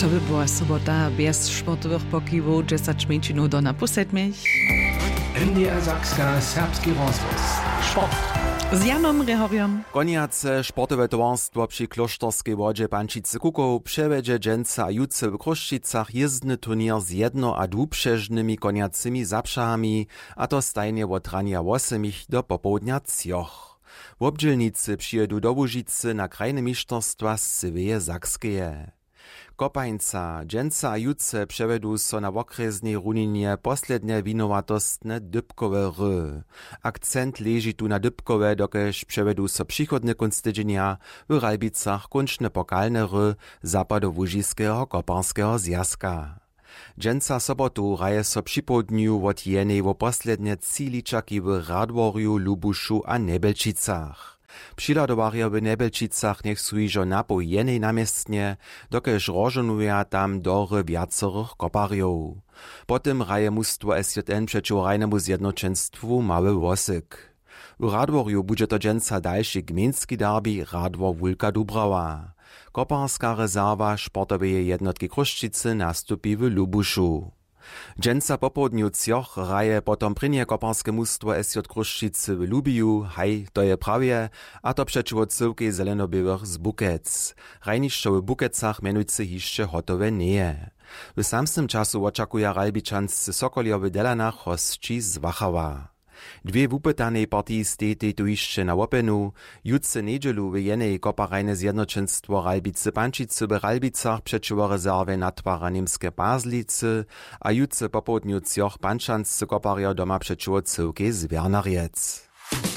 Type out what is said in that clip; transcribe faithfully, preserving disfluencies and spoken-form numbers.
To by była sobota bjez sportowych pokiwow, dźesać mjeńšinow do na pół sedmich. N D R Sakska, serbski rozhłos. Sport. Z Janom Rěhorjom. Konjace sportowe towarstwo při klóšterskej wodźe Pančicy Kukow přewjedźe dźensa a jutře w Chrósćicach jězbny turněr z jedno a dwupřežnymi konjacymi zapřahami, a to stajnje wot ranja wosomich do popołdnja třoch. Wobdźělnicy přijědu do Łužicy na krajne mišterstwa z cyłeje Sakskeje. Kopańca, dźensa a jutře přewjedu so na wokrjesnej runinje poslednje winowatostne dypkowe hry. Akcent leži tu na dypkowje, dokelž přewjedu so přichodny kónc tydźenja w Ralbicach kónčne pokalne hry Zapadołužiskeho koparskeho zwjazka. Dźensa sobotu hraje so připołdnju wot jenej wo poslednje tři ličaki w Radworju, Lubušu a Njebjelčicach. Přihladowarjo w Njebjelčicach njech su hižo napoł jenej na městnje, dokelž rozžohnuja tam do hry wjacorych koparjow. Po tym hraje mustwo S J N přećiwo hrajnemu zjednoćenstwu Mały Wosyk. W Radworju budźe to dźensa dalši gmejnski derbi Radwor Wulka Dubrawa. Koparska rezerwa sportoweje jednotki Chrósćicy nastupi w Lubušu. Dźensa popołdnju třoch hraje potom prěnje koparske mustwo S J Chrósćicy w Lubiju, haj, to je prawje, a to přećiwo cyłkej zelenoběłych z Bukec. Hrajnišćo w Bukecach mjenujcy hišće hotowe njeje. W samsnym času wočakuja Ralbičanscy Sokoljo w Delanach hosći z Wachała. Dwě wupytanej partiji stejtej tu hišće na łopjenu. Jutře njedźelu w jenej koparjne zjednoćenstwo Ralbicy Pančicy w Ralbicach přećiwo rezerwje natwara Němske Pazlicy a jutře popołdnju třoch pančanscy koparjo doma přećiwo cyłkej z Wjernarjec.